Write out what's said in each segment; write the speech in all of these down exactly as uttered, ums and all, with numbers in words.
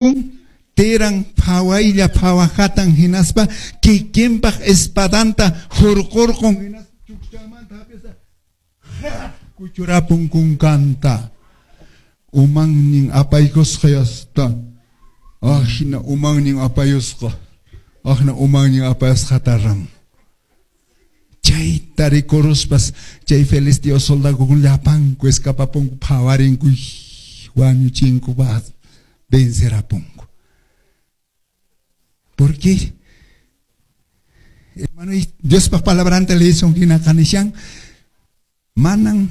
Tiran phawaylla phawajatan hinaspa kikinpaq espadanta hurqurqun hinaspa chukchanmanta hap'ispa kuchurapun kunkanta. Umannin apaykusqa yasta. Ahina umannin apayusqa. Ahina umannin apayusqata ram. Chayta rikuruspas chay filisteo soldadokuna llapanku escapapunku phawarinku wañuchinku vencerapunku. ¿Por qué? Hermano, Diospaq palabranta leyisun hina qanishan manan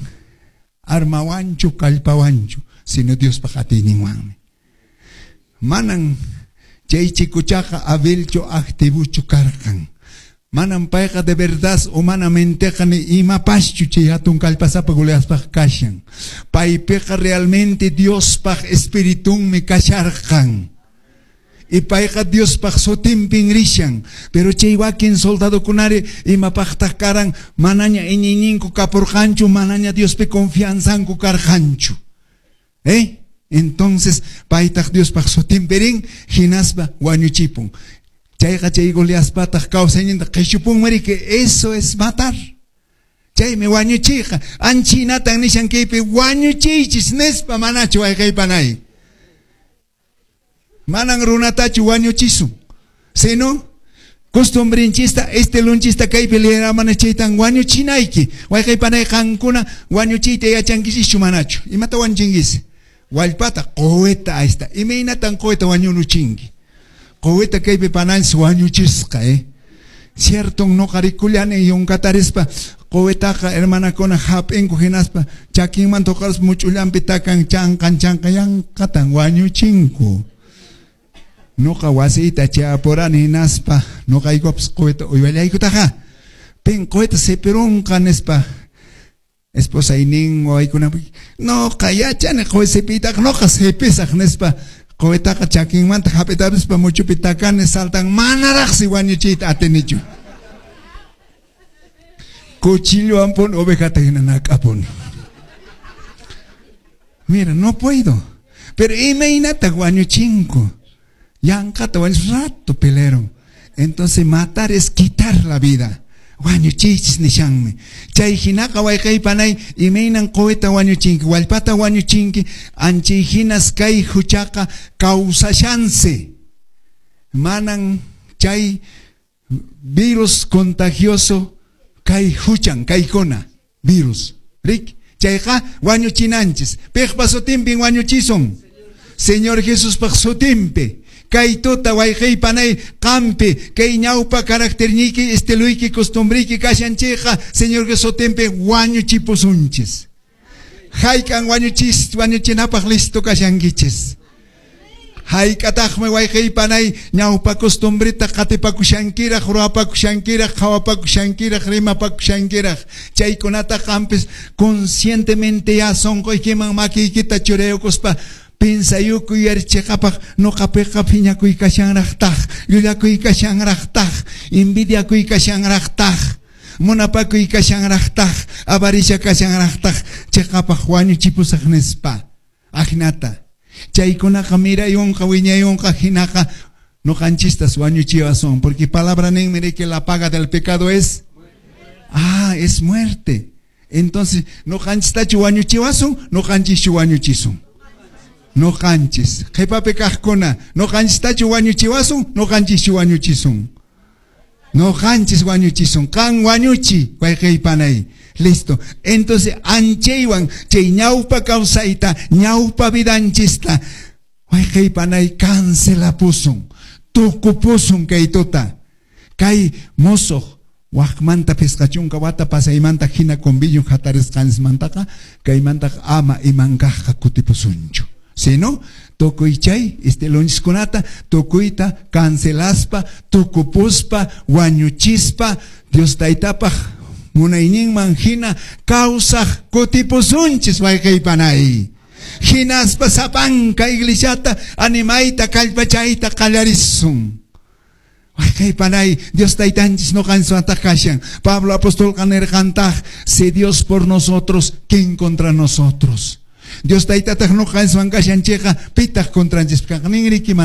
armawanchu kallpawanchu sino Diospaq atiyninwanmi. Manan chay chikuchaqa habilchu activuchu karqan. Manan payqa de verdad humanamenteqa ni imapaschu chay hatun kallpasapa Goliaspaq kashan. Paypiqa realmente Diospaq espiritunmi kasharqan. Y payqa Diospaq sutinpin rishan. Pero chay wakin soldadokunari imapaqtaq karan manaña iñiyninku kapurqanchu, manaña Diospi confianzanku karqanchu. ¿Eh? Entonces paytaq Diospaq sutinpi rin hinaspa wañuchipun. Chayqa chay Goliaspataq kawsayninta qhishupunmi que eso es matar. Chaymi wañuchiyqa. Anchinatan nishan kaypi wañuchiychis nispa manachu wayqaypanay. Manan runatachu wañuchisun. Sino costumbrinchista, estilunchista kaypi leeramana chaytan wañuchinayki. Wayqaypanay qankuna wañuchiyta yachankichischu manachu. Imata wañuchinkis? Wallpata quwita ahí. Imaynatan quwita wañuruchinki? Quwita kaypi pananchis wañuchisqa, eh? Cierto, noqa rikullani yunkatarispa quwitaqa hermanakuna hap'inku hinaspa chakinmanta huqarispa much'ullanpi takan chanqan chanqan yanqatan wañuchinku. Noqa wasiyta chayapurani hinaspa noqaykupas quwita uywallaykutaqa pin quwita sipirunqa nispa esposaynin wawaykuna noqa yachani quwi sipiytaqa noqa sipisaq nispa quwitaqa chakinmanta hap'itapispa muchupi takani saltan manaraqsi wañuchiyta atinichu. Cuchillowan pun ovejata hina nak'apuni. Mira, no puedo. Pero imaynataq wañuchinku. Yanqata wañuch rato pelearon. Entonces matar es quitar la vida. Wañuchiychis nishanmi. Chay hinaqa wayqaypanay imaynan quwita wañuchinki, wallpata wañuchinki, anchay hinas kay huchaqa kawsashansi. Manan chay virus contagioso kay huchan, kaykuna virus. Rik, chayqa wañuchinanchis. Piqpa sutinpin wañuchisun? Señor Jesuspaq sutinpi. Kay tuta wayqaypanay qampi kay ñawpa caracterniyki estiluyki costumbriyki kashan chayqa Señor Jesús sutinpi wañuchipusunchis. Hayk'an wañuchis wañuchinapaq listo kashankichis. Hayk'ataqmi wayqaypanay ñawpa costumbrita qatipakushankiraq, ruwapakushankiraq, qhawapakushankiraq, rimapakushankiraq. Chaykunata qampis conscientemente ya sunquykiman makiykita churayukuspa piensayukuy yarichiqapaq noqapiqa phiñakuy kashanraqtaq, llullakuy kashanraqtaq, envidiakuy kashanraqtaq, munapakuy kashanraqtaq, avaricia kashanraqtaq, chiqapaq wañuchipusaq nispa. Ajnata. Chaykunaqa mirayunqa wiñayunqa hinaqa noqanchistas wañuchiwasun, porque palabra ninmi que la paga del pecado es ah, es muerte. Entonces, noqanchistachu wañuchiwasun, noqanchischu wañuchisun. Noqanchis. Qhipapi kaqkuna, noqanchistachu wañuchiwasun, noqanchischu wañuchisun. Noqanchis wañuchisun. Qan wañuchi, wayqaypanay. Listo. Entonces, anchaywan chay ñawpa kawsayta, ñawpa vidanchista, wayqaypanay cancelapusun, tukupusun kay tuta. Kay musuq waqmanta pisqa chunka wata pasaymanta hina convenio hatarisqanchismantaqa kaymantaqa ama imankaqqa kutipusunchu. Sino tukuy chay estilonchiskunata tukuyta cancelaspa, tukupuspa, wañuchispa, Dios taytapaq munayninman hina kawsaq kutipusunchis wayqaypanay. Hinaspa sapanka iglesiata animayta kallpachayta qallarisun. Wayqaypanay Dios taytanchis noqanchiswantaq kashan. Pablo apostolqa nirqantaq, si Dios por nosotros, ¿quién contra nosotros? Dios taytataq noqanchiswan kashan chayqa, pitaq contranchispi kanqa? Ninriki mana.